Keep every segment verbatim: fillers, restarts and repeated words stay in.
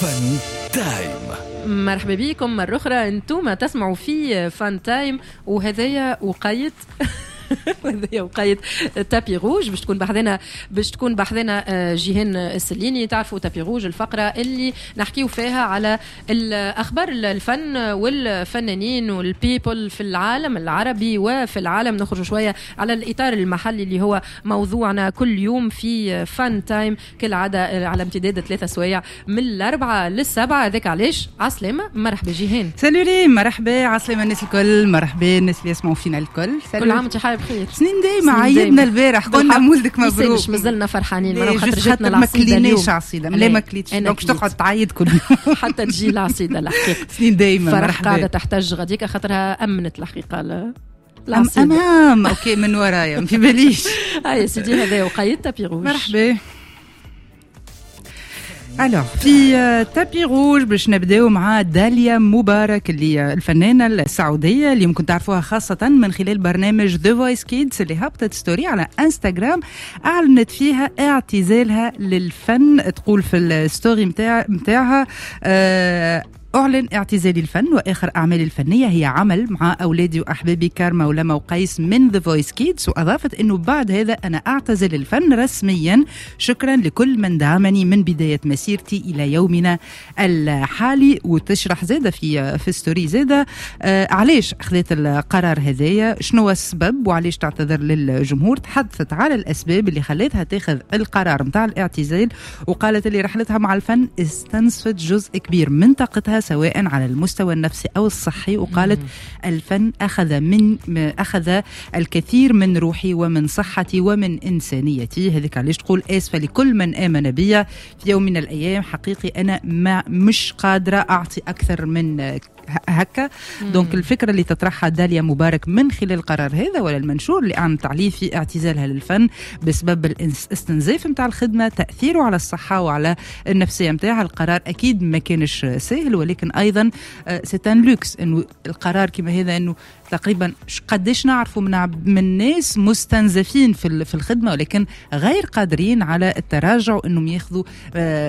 Fun Time. مرحبا بكم مرة أخرى، أنتم تسمعوا في Fun Time وهذايا وقيت وهذايا وقيت tapis rouge باش تكون بحذنا باش تكون بحذنا آه، جيهان السليني. تعرفوا tapis rouge الفقرة اللي نحكيو فيها على الأخبار الفن والفنانين وال people في العالم العربي وفي العالم. نخرج شوية على الإطار المحلي اللي هو موضوعنا كل يوم في Fun Time كالعادة على امتداد ثلاثة سوايع من الأربعة للسبعة. هذاك علاش عسلامة، مرحبا جيهان. salut ريم، مرحبا، عسلامة الناس الكل، مرحبا الناس اللي يسمعوا فينا الكل. كل عام وانت حي بخير. سنين دايما، عيدنا البارح قلنا مولدك مبروك. مازلنا فرحانين خاطر جاتنا العصيده. ما كليناش عصيده، لا ما كليتش، donc تقعد تعيد كل يوم حتى تجي العصيده الحقيقه. سنين دايما. فرح قاعدة تحتج غاديكا خاطرها امنت الحقيقة العصيده. امام OK من ورايا ما في باليش. هيا سيدي هذا وقيت tapis rouge. مرحبا. alors في tapis rouge باش نبداو مع داليا مبارك اللي الفنانة السعودية اللي ممكن تعرفوها خاصة من خلال برنامج The Voice Kids، اللي هبطت story على انستغرام اعلنت فيها اعتزالها للفن. تقول في ال story متاع متاعها آه أعلن اعتزالي الفن وآخر أعمالي الفنية هي عمل مع أولادي وأحبابي كارما ولما وقيس من The Voice Kids. وأضافت أنه بعد هذا أنا أعتزل الفن رسميا، شكرا لكل من دعمني من بداية مسيرتي إلى يومنا الحالي. وتشرح زادة في في story زادة آه علاش أخذت القرار هذايا، شنو السبب وعلاش تعتذر للجمهور. تحدثت على الأسباب اللي خلتها تاخذ القرار متاع الاعتزال، وقالت اللي رحلتها مع الفن استنزفت جزء كبير من طاقتها سواء على المستوى النفسي أو الصحي. وقالت الفن أخذ من أخذ الكثير من روحي ومن صحتي ومن إنسانيتي. هذيك علاش تقول آسفة لكل من آمن بي في يوم من الأيام، حقيقي أنا ما مش قادرة أعطي أكثر من هكا. donc الفكرة اللي تطرحها داليا مبارك من خلال القرار هذا ولا المنشور اللي أعلنت عليه في اعتزالها للفن بسبب الاستنزاف متاع الخدمة، تأثيره على الصحة وعلى النفسية متاعها. القرار أكيد ما كانش سهل، ولكن أيضا c'est un luxe إنه القرار كما هذا، إنه تقريبا قديش نعرفوا من من ناس مستنزفين في في الخدمة ولكن غير قادرين على التراجع وإنهم ياخذوا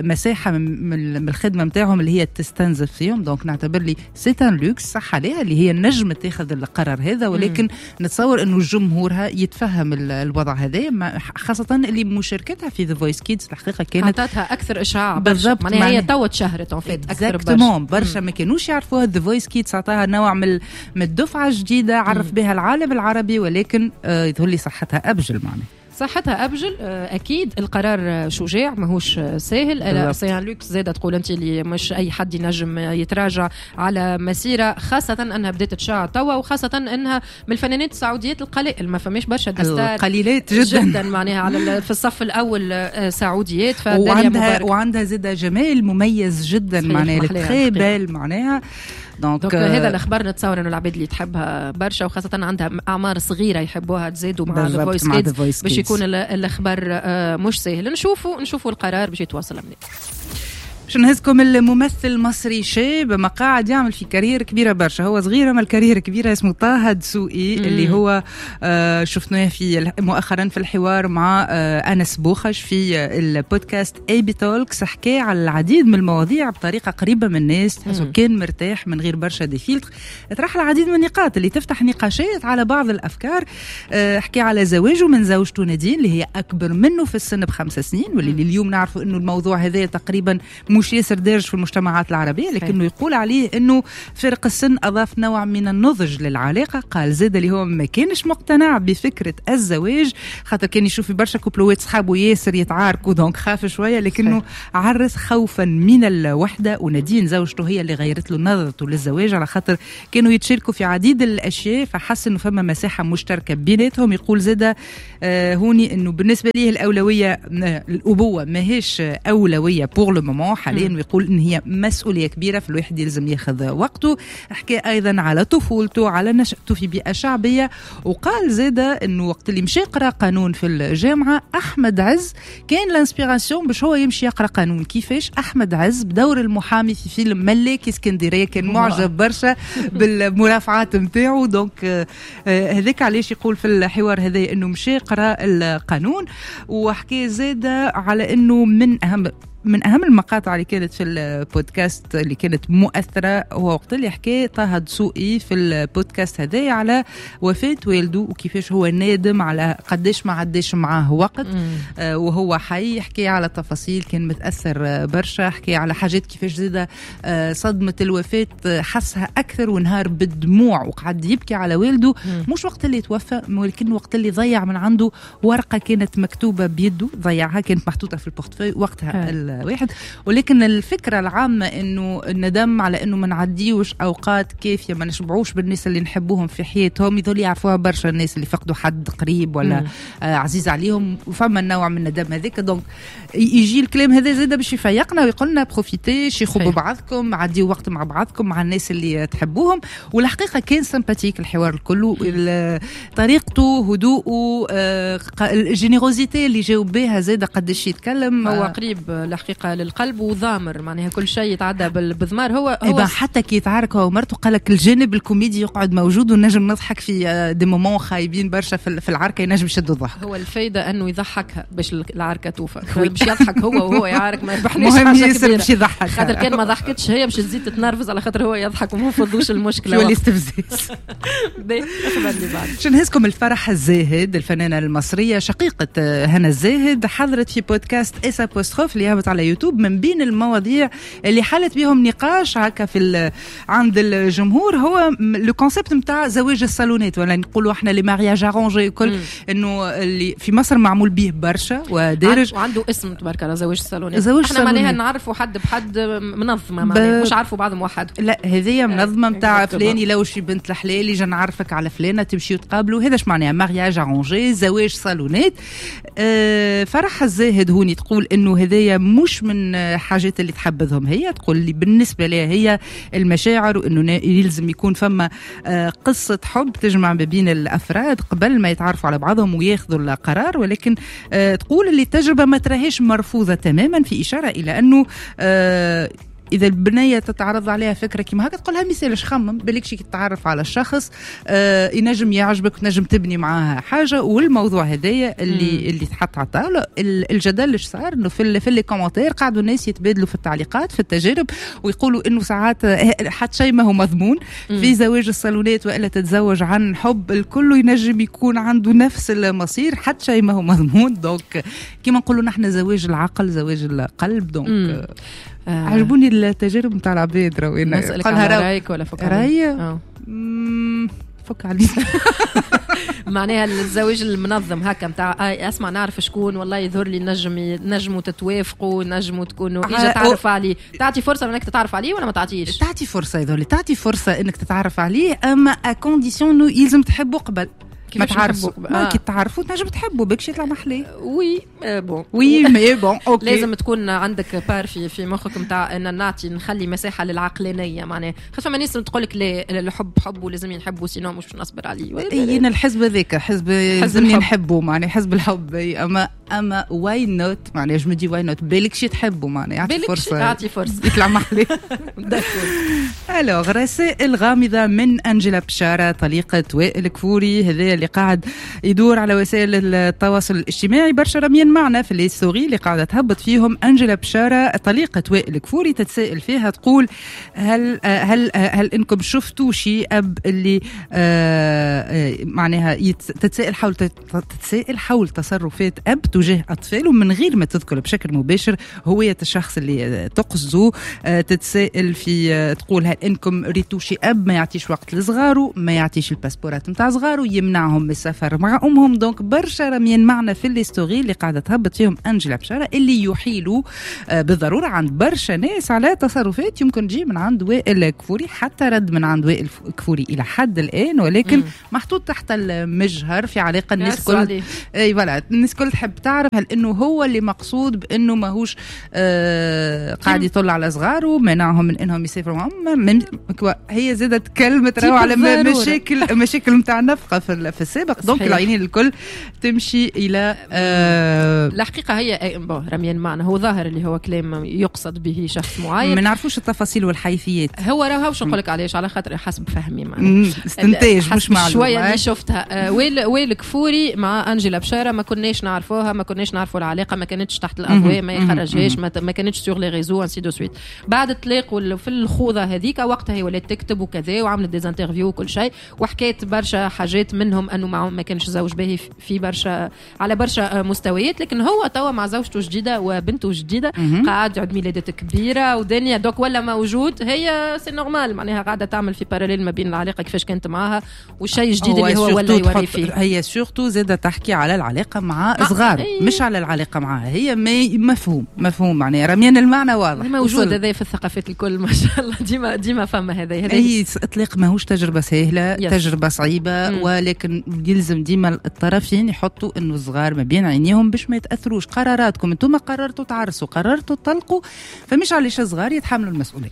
مساحة من الخدمة متاعهم اللي هي تستنزف فيهم. donc نعتبر لي c'est un luxe صح عليها اللي هي نجم تاخذ القرار هذا، ولكن نتصور انه جمهورها يتفهم الوضع هذا، خاصة اللي مشاركتها في The Voice Kids الحقيقة كانت عطاتها اكثر اشعاع بالضبط. معناها هي توا تشهرت en fait اكثر برشا برشا ما كانوش يعرفوها. The Voice Kids عطاها نوع من من الدفعة الجديدة عرف بها العالم العربي، ولكن آه يظهر لي صحتها ابجل. معناها صحتها أبجل. أكيد القرار شجاع ماهوش ساهل، c'est un luxe زادة تقول أنت اللي مش أي حد ينجم يتراجع على مسيرة، خاصة أنها بدأت تشع توا، وخاصة أنها من الفنانات السعوديات القلائل، ما فماش برشا des stars قليلات جدا جدا معناها على في الصف الأول سعوديات. وعندها وعندها زادة جمال مميز جدا، معناها très belle معناها. donc هذا الاخبار نتصور انه العباد اللي تحبها برشا وخاصة عندها اعمار صغيرة يحبوها تزيدوا مع The Voice Kids باش يكون الاخبار مش سهل. نشوفوا نشوفوا القرار باش يتواصل منين. باش نهزكم الممثل المصري شاب ما قاعد يعمل في carrière كبيرة برشا، هو صغير اما ال carrière كبيرة، اسمه طه دسوقي اللي هو آه شفناه في مؤخرا في الحوار مع آه انس بوخش في البودكاست اي بي Talks. حكى على العديد من المواضيع بطريقة قريبه من الناس، تحسه كان مرتاح من غير برشا des filtres. طرح العديد من النقاط اللي تفتح نقاشات على بعض الافكار. آه حكى على زواجه من زوجته نادين اللي هي اكبر منه في السن بخمس سنين، واللي اليوم نعرفوا انه الموضوع هذا تقريبا مش ياسر دارج في المجتمعات العربية، لكنه يقول عليه أنه فرق السن أضاف نوع من النضج للعلاقة. قال زاد اللي هو ما كانش مقتنع بفكرة الزواج، خاطر كان يشوف في برشا كوبلوات صحابه ياسر يتعاركوا، donc خاف شوية، لكنه عرس خوفا من الوحدة. ونادين زوجته هي اللي غيرت له نظرته للزواج، على خاطر كانوا يتشاركوا في عديد الأشياء، فحس أنه فما مساحة مشتركة بيناتهم. يقول زاد آه هوني أنه بالنسبة ليه الأولوية الأبوة ماهيش أولوية pour le moment حاليا، ويقول ان هي مسؤولية كبيرة في الواحد يلزم ياخذ وقته. حكى ايضا على طفولته، على نشأته في بيئة شعبية، وقال زاده انه وقت اللي مشى يقرا قانون في الجامعة احمد عز كان l'inspiration باش هو يمشي يقرا قانون. كيفاش احمد عز بدور المحامي في فيلم ملاكي اسكندرية كان معجب برشا بالمرافعات نتاعو، donc هذاك علاش يقول في الحوار هذا انه مشى يقرا القانون. وحكى زاده على انه من اهم من اهم المقاطع اللي كانت في البودكاست اللي كانت مؤثرة هو وقت اللي حكى طه دسوقي في البودكاست هذايا على وفاه والده وكيفاش هو نادم على قداش ما عداش معاه وقت آه وهو حي. حكى على تفاصيل كان متاثر برشا، حكى على حاجات كيفاش زاده آه صدمة الوفاة حسها اكثر ونهار بالدموع وقعد يبكي على والده. مم. مش وقت اللي توفى ولكن وقت اللي ضيع من عنده ورقة كانت مكتوبة بيده، ضيعها، كانت محطوطة في ال portefeuille وقتها الواحد. ولكن الفكرة العامة انه الندم على انه ما نعديوش اوقات كافيه، ما نشبعوش بالناس اللي نحبوهم في حياتهم، يظل يعرفوها برشا الناس اللي فقدوا حد قريب ولا آه عزيز عليهم، وفما النوع من الندم هذاك. donc يجي الكلام هذا زاده باش يفيقنا ويقولنا profitez، شيخوا ببعضكم، عديوا وقت مع بعضكم مع الناس اللي تحبوهم. والحقيقة كان sympathique الحوار الكل، طريقته، هدوءه، آه ال générosité اللي جاوب بها زاده قداش يتكلم، هو قريب الحقيقة للقلب وضامر، معناها كل شيء يتعدى بالضمار. هو هو حتى كي يتعارك هو ومرته قال لك الجانب الكوميدي يقعد موجود ونجم نضحك في des moments خايبين برشا في العركه، ينجم يشد الضحك. هو الفايدة انه يضحكها باش العركه توفى، باش يضحك هو وهو يعارك ما يربحنيش حاجة كبيرة، باش يضحك، خاطر كان ما ضحكتش هي باش تزيد تتنرفز على خاطر هو يضحك وما فضوش المشكلة، يولي استفزاز. باش نهزكم الفرح الزاهد، الفنانة المصرية شقيقه هنا الزاهد، حضرت في بودكاست S apostrophe اللي هبط على يوتيوب. من بين المواضيع اللي حلت بهم نقاش هكا في عند الجمهور هو le concept نتاع زواج الصالونات، ولا نقولوا احنا les mariages arrangés، كل انه اللي في مصر معمول به برشا ودارج وعنده اسم تبارك الله، زواج الصالونات. احنا معناها نعرفوا حد بحد منظمة، معناها مش عارفوا بعضهم وحده، لا هذه منظمة نتاع فلان يلوش في بنت الحلال يجي نعرفك على فلانه تمشيو تقابلوا، هذا اش معناها mariage arrangé، زواج صالونات. أه فرح الزاهد هوني تقول انه هذايا مش من حاجات اللي تحبذهم هي، تقول اللي بالنسبة لها هي المشاعر وانه يلزم يكون فما قصة حب تجمع ما بين الافراد قبل ما يتعرفوا على بعضهم وياخذوا القرار. ولكن تقول اللي التجربة ما تراهيش مرفوضة تماما، في اشارة الى انه إذا البنية تتعرض عليها فكرة كيما هكا تقولها ميسالش خمم بالك شي تتعرف على الشخص آه ينجم يعجبك وتنجم تبني معاها حاجة. والموضوع هذايا اللي اللي تحط على الطاولة، الجدل اللي صار انه في في les commentaires قعدوا الناس يتبادلوا في التعليقات في التجارب ويقولوا انه ساعات حتى شيء ما هو مضمون في زواج الصالونات، والا تتزوج عن حب الكل ينجم يكون عنده نفس المصير، حتى شيء ما هو مضمون. donc كيما نقولوا نحن زواج العقل زواج القلب. donc آه. عجبوني التجارب نتاع العباد. راهو نسألك على رايك ولا فك عليك؟ راي فك عليك. معناها الزواج المنظم هكا نتاع اسمع نعرف شكون والله يظهر لي نجم نجموا تتوافقوا نجموا تكونوا اجا تعرف عليه، تعطي فرصة انك تتعرف عليه ولا ما تعطيش؟ تعطي فرصة، يظهر لي تعطي فرصة انك تتعرف عليه، اما à condition انه يلزم تحبه قبل ما تعرفوا. ما كي تعرفوا تنجم تحبوا بك شي يطلع محلي. oui bon oui mais bon OK، لازم تكون عندك part في في مخك نتاع ان نعطي نخلي مساحة للعقلانيه، معناها خاطر فما ناس تقول لك لا الحب حب ولازم نحبه sinon مش نصبر عليه. اي انا الحزب هذاك حزب لازمني نحبه، معناها حزب الحب. اما اما why not، معناها je me dis why not، بالك شي تحبه، معناها يعطي فرصة، يعطي فرصة يطلع محلي. alors رسائل غامضة من انجيلا بشارة طليقه وائل كفوري، هذا اللي قاعد يدور على وسائل التواصل الاجتماعي برشا رميين معنا في les stories اللي قاعدة تهبط فيهم. انجيلا بشارة طليقه وائل كفوري تتساءل فيها تقول هل هل هل انكم شفتوا شيء اب اللي آه معناها تتساءل حول تتساءل حول تصرفات اب تجاه اطفاله من غير ما تذكر بشكل مباشر هوية الشخص اللي تقصده. آه تتساءل في تقول هل انكم ريتوا شي اب ما يعطيش وقت لصغاره، ما يعطيش الباسبورات نتاع صغاره، يمنعهم من السفر مع امهم. donc برشا رميين معنا في les stories اللي قاعدة تهبط فيهم انجيلا بشارة اللي يحيلوا بالضرورة عند برشا ناس على تصرفات يمكن تجي من عند وائل كفوري، حتى رد من عند وائل كفوري الى حد الان، ولكن مم. محطوط تحت المجهر في علاقة الناس كل اي voilà الناس كل تحب تعرف هل انه هو اللي مقصود بانه ماهوش آه قاعد يطل على صغاره منعهم من انهم يسافروا معهم. هي زادت كلمة راهو على مشاكل مشاكل نتاع النفقة في في السابق. donc العينين الكل تمشي الى آه الحقيقة هي bon رميان معنى هو ظاهر اللي هو كلام يقصد به شخص معين، ما نعرفوش التفاصيل والحيثيات. هو راهو باش نقول لك علاش، على خاطر حسب فهمي معناها استنتاج مش معلومة شوية اللي شفتها. آه وائل وائل كفوري مع انجيلا بشارة ما كناش نعرفوها، ما كناش نعرفوا العلاقة، ما كانتش تحت الاضواء، ما يخرجهاش، ما, ما كانتش sur les réseaux ainsi de suite. بعد الطلاق في الخوضه هذيك وقتها هي ولات تكتب وكذا وعملت des interviews وكل شيء وحكيت برشا حاجات، منهم انه ما, ما كانش زوج باهي في برشا على برشا مستويات، لكن هو توا مع زوجته جديدة وبنته جديدة قاعد عيد ميلادات كبيرة ودنيا donc ولا موجود. هي c'est normal معناها قاعدة تعمل في parallèle ما بين العلاقة كيفاش كانت معاها والشيء الجديد اللي هو ولا يوري فيه. هي surtout زاده تحكي على العلاقة مع صغار مش على العلاقة معاها هي، مفهوم مفهوم معناها رميان المعنى واضح موجود هذا في الثقافات الكل ما شاء الله، ديما ديما فما هذا. هي اطلاق ماهوش تجربه سهلة، تجربه صعيبة، مم. ولكن يلزم ديما الطرفين يحطوا انه الصغار ما بين عينيهم باش ما يتاثروش. قراراتكم انتم قررتوا تعرسوا، قررتوا تطلقوا، فمش علاش الصغار يتحملوا المسؤولية.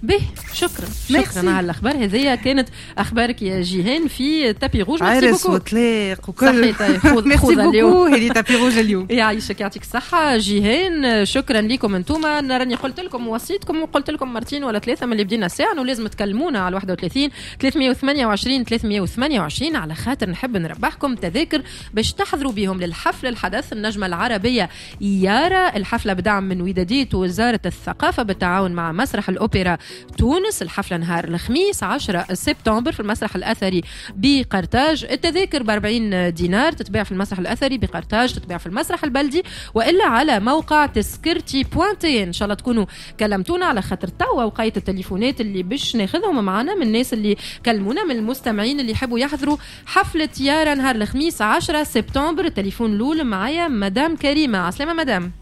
به شكرا شكرا على الاخبار هذه. كانت اخبارك يا جيهان في tapis rouge. عرس وطلاق وكل صحيح. خذ خذ اليوم هذه tapis rouge اليوم. يعيشك يعطيك الصحة جيهان، شكرا لكم انتم. راني قلت لكم وصيتكم وقلت لكم مرتين ولا ثلاثة من اللي بدينا الساعة انه لازم تكلمونا على واحد وثلاثين ثلاثمية وثمانية وعشرين ثلاثمية وثمانية وعشرين على خاطر نحب نربحكم تذاكر باش تحضروا بهم للحفل الحدث النجمة العربية يارا. الحفلة بدعم من وداديه وزارة الثقافة بالتعاون مع مسرح الاوبرا تونس. الحفلة نهار الخميس عشرة سبتمبر في المسرح الأثري بقرطاج. التذاكر بأربعين دينار، تتباع في المسرح الأثري بقرطاج، تتباع في المسرح البلدي وإلا على موقع تسكرتي point tn. إن شاء الله تكونوا كلمتونا على خاطر توا وقيت التليفونات اللي باش ناخذهم معنا من الناس اللي كلمونا، من المستمعين اللي يحبوا يحضروا حفلة يارا نهار الخميس عشرة سبتمبر. التليفون الأول معايا مدام كريمة. عسلامة مدام.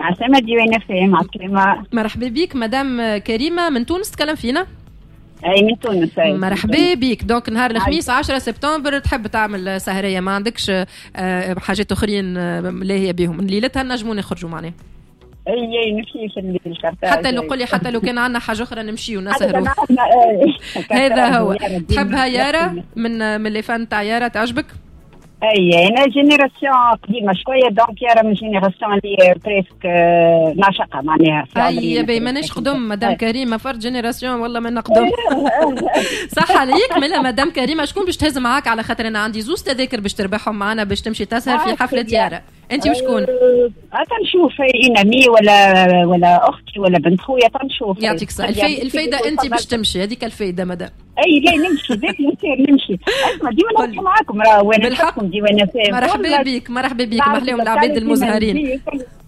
عسلامة ديوان فهم. عسلامة، مرحبا بك مدام كريمة من تونس تكلم فينا. اي من تونس. أي. مرحبا بك. donc نهار الخميس عشرة سبتمبر تحب تعمل سهرية، ما عندكش حاجات اخرين لاهية بهم ليلتها نجموا نخرجوا معناها؟ اي اي نمشي في الليل حتى لو قولي حتى لو كان عندنا حاجة اخرى نمشي ونسهروا. هذا هو. تحبها يارا من من les fans تاع يارا تعجبك؟ اي انا génération قديمة شوية، donc يارا من génération اللي presque ناشقه معناها. اي باهي ماناش قدم مدام كريمة، فرد génération والله ما نقدم. صح عليك. ملا مدام كريمة شكون باش تهز معاك؟ على خاطر انا عندي زوز تذاكر باش تربحهم معنا باش تمشي تسهر في حفلة يارا. انت وشكون؟ تنشوف une amie ولا ولا اختي ولا بنت خويا تنشوف. يعطيك الصحة. الفايدة انت باش تمشي، هذيك الفايدة مدام. اي لا نمشي ذاك نمشي. اسمع ديما نحكي معاكم راه وانا نحكم ديما. مرحبا بك مرحبا بك، محليهم العباد المزهرين.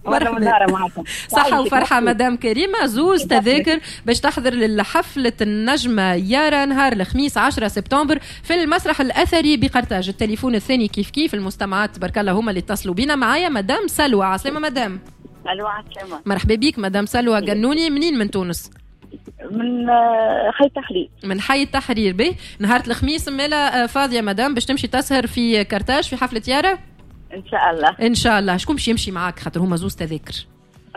مرحبا. صحة وفرحة مدام كريمة. زوز تذاكر باش تحضر للحفلة النجمة يارا نهار الخميس عشرة سبتمبر في المسرح الأثري بقرطاج. التليفون الثاني كيف كيف المستمعات تبارك الله هما اللي اتصلوا بينا. معايا مدام سلوى. عسلامة مدام. ألو عسلامة. مرحبا بك مدام سلوى قنوني. منين من تونس؟ من حي التحرير. من حي التحرير. به نهار الخميس مالا فاضية مدام باش تمشي تسهر في كرتاج في حفلة يارا؟ ان شاء الله. ان شاء الله. شكون باش يمشي معاك خاطر هما زوز تذاكر؟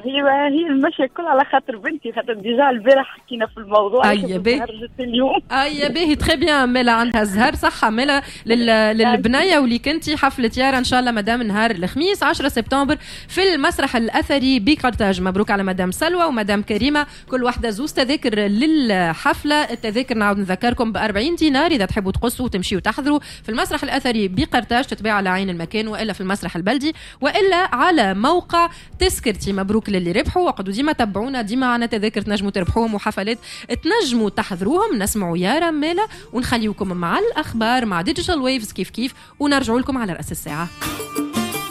هي هي المشي الكل على خاطر بنتي، خاطر déjà البارح حكينا في الموضوع. اي باهي اليوم. اي باهي très bien. مالا عندها الزهر. صحة مالا للبنيه واللي كنتي حفلة يارا ان شاء الله مدام نهار الخميس عشرة سبتمبر في المسرح الاثري بقرطاج. مبروك على مدام سلوى ومدام كريمة، كل واحدة زوز تذاكر للحفله. التذاكر نعاود نذكركم ب أربعين دينار اذا تحبوا تقصوا وتمشيوا وتحضروا في المسرح الاثري بقرطاج، تتباع على عين المكان والا في المسرح البلدي والا على موقع تذكرتي. مبروك للي ربحوا، وقعدوا ديما تبعونا، ديما عنا تذاكر تنجموا تربحوهم وحفلات تنجموا تحضروهم. نسمعوا يارا مالا ونخليوكم مع الاخبار مع Digital Waves كيف كيف، ونرجعوا لكم على راس الساعة.